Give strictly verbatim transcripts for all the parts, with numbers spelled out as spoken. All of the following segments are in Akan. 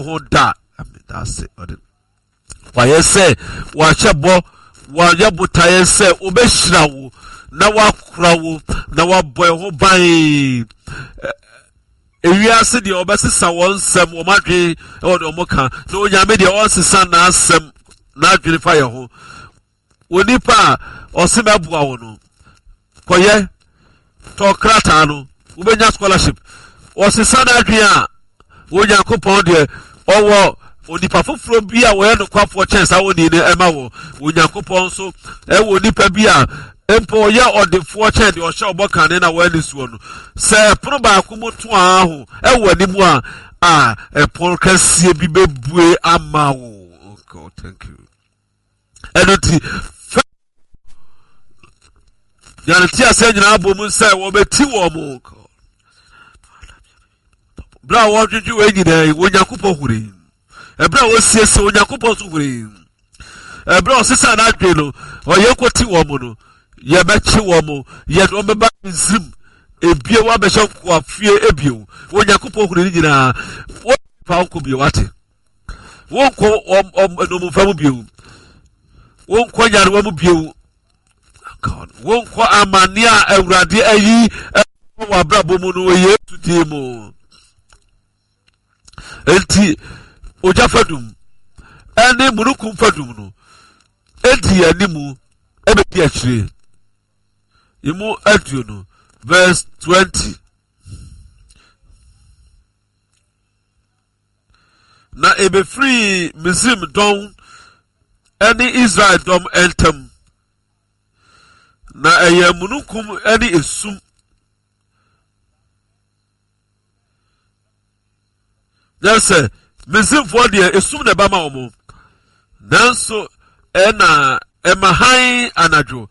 ho da. Ase ɔde wayɛ sɛ wahyɛ bɔ, wayɛ botaeɛ sɛ wobɛhyira wo na wakora wo na wabɔ ɛho ban. Ewiase deɛ, ɔbɛsesa wɔn nsɛm, wɔn adwene ɛwɔ deɛ wɔn ka, na Onyame deɛ, ɔnsesa n'asɛm, n'adwene fa yɛ ho. Onipa a ɔse mɛboa wo no, kɔyɛ tɔ krataa no, wobɛnya scholarship, ɔsesa n'adwene a, Onyankopɔn deɛ, ɔwɔ onipa foforɔ bi a wɔyɛ nokwafoɔ kyɛn saa wɔni no ɛma wɔ. Onyankopɔn nso ɛwɔ nipa bi a mpo ɔyɛ ɔdefoɔ kyɛn deɛ ɔhyɛ ɔbɔ kane na wɔani soɔ no. Sɛ ɛpono baako mu to aho ɛwɔ anim a a ɛpono kɛseɛ bi bɛbue ama wo. Oh God, thank you. Ɛno nti fɛ yɛn ti ase nyinaa bɔ mu sɛ wɔbɛti wɔn mo berɛ a wɔdwedwe wɔn nyinaa yi, Onyankopɔn hure. Ɛberɛ a wɔsiesie, Onyankopɔn nso hure. Ɛberɛ a ɔsesa n'adwene no, ɔyɛ kɔti wɔn mo no, yɛbɛkye wɔn mo, yɛde wɔn bɛba Misrim ebio, wɔabɛhyɛ nkoafie ebio. Onyankopɔn hure ne nyinaa. Wɔfa nkɔ bio, wate, wonkɔ nnommumfa mu bio, wonkɔ nyarewa mu bio, wonkɔ amanneɛ a Awurade ayi wɔ abrabɔ mu no wɔ Yesu din mu. Enti ogya fadum ɛne mununkum fadum no edi animu ɛbɛdi akyire emu aduonu, verse twenty. Na ebefiri Misraim dɔm ne Israel dɔm ntam, na ɛyɛ mununkum ne esum yɛn sɛ Misraimfoɔ deɛ, esum na ɛba ma wɔn, nanso ɛna ɛma hann anadwo,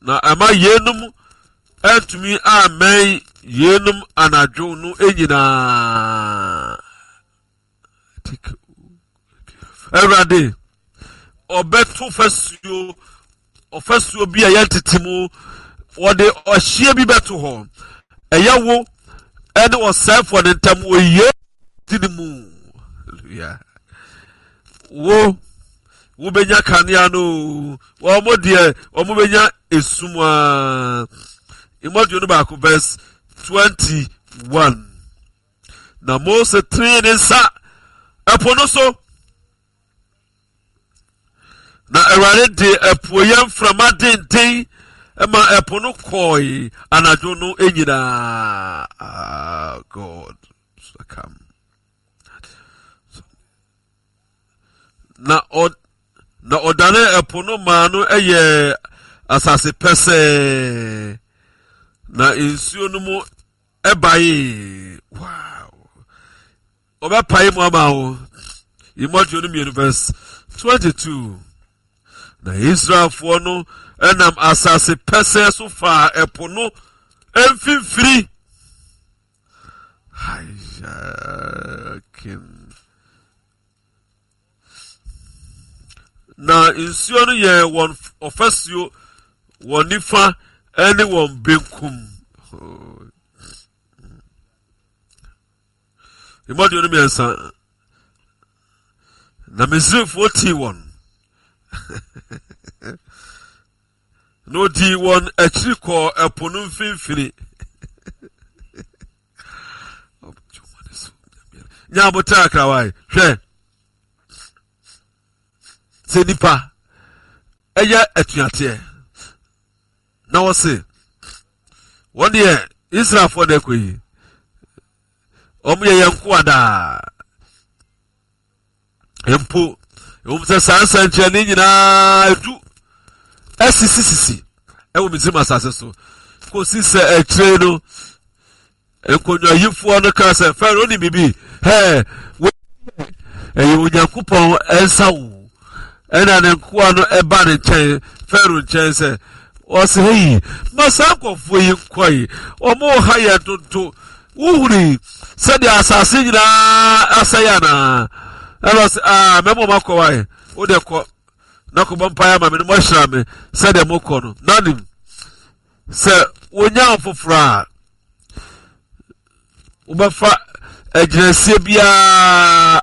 na ɛma yeinom antumi ammɛn yeinom anadwo no nyinaa. Awurade ɔbɛto fasuo, ɔfasuo bi a yɛntete mu, wɔde ɔhyeɛ bi bɛto hɔ, ɛyɛ wo ɛne ɔsɛefoɔ no ntam wɔ Yesu din mu. Hallelujah. Wo wobɛnya kanea no, wɔn mo deɛ, wɔn bɛnya esum a. Emu aduonu baako, verse twenty one. Na Mose tene ne nsa ɛpo no so, na Awurade de apueyɛ mframa denden ma ɛpo no kɔe anadwo no nyinaa. Ah, God. Na ɔ na ɔdane ɛpo no maa no yɛ asase pɛsɛɛ, na nsuo no mu ɛbae. Wow, ɔbɛpae mu ama wo. Emu aduonu mmienu, verse twenty two. Na Israelfoɔ no ɛnam asase pɛsɛɛ so faa ɛpo no mfimfini. Hayakim. Na nsuo no yɛ wɔn ɔfasuo wɔn nifa ne wɔn benkum. Emu aduonu mmiɛnsa. Na Misraimfoɔ tii wɔn na odii wɔn akyiri kɔɔ ɛpo no mfimfini. Nya abotire akrawae, hwɛ sɛ nipa ɛyɛ atuateɛ na wɔse wɔn deɛ, Israelfoɔ na ɛkɔ yi, wɔn yɛ yɛn nkoa daa mpo. Ɛwom sɛ saa nsɛnkyerɛnne nyinaa edu asisisisi ɛwɔ Misraim asase so, kɔsi sɛ akyire no nkonnwayifoɔ no kaa sɛ, "Farao ne biribi hɛɛ, ɛyɛ Onyankopɔn nsa wo." Ɛna ne nkoa no ɛba ne nkyɛn, Farao nkyɛn, sɛ ɔsɛ, "Hei, ma saa nkɔfoɔ yi nkɔ yi, wɔn ha yɛ dodo. Wohuri sɛdeɛ asase nyinaa asɛe anaa?" Ɛna ɔsɛ, "Aa, mɛma ɔmo akɔ wae. Wode kɔ na kɔbɔ mpaeɛ ama me no, moahyira me sɛdeɛ mokɔ no." Nanim sɛ wonya foforɔ a wobɛfa agyinasie biara.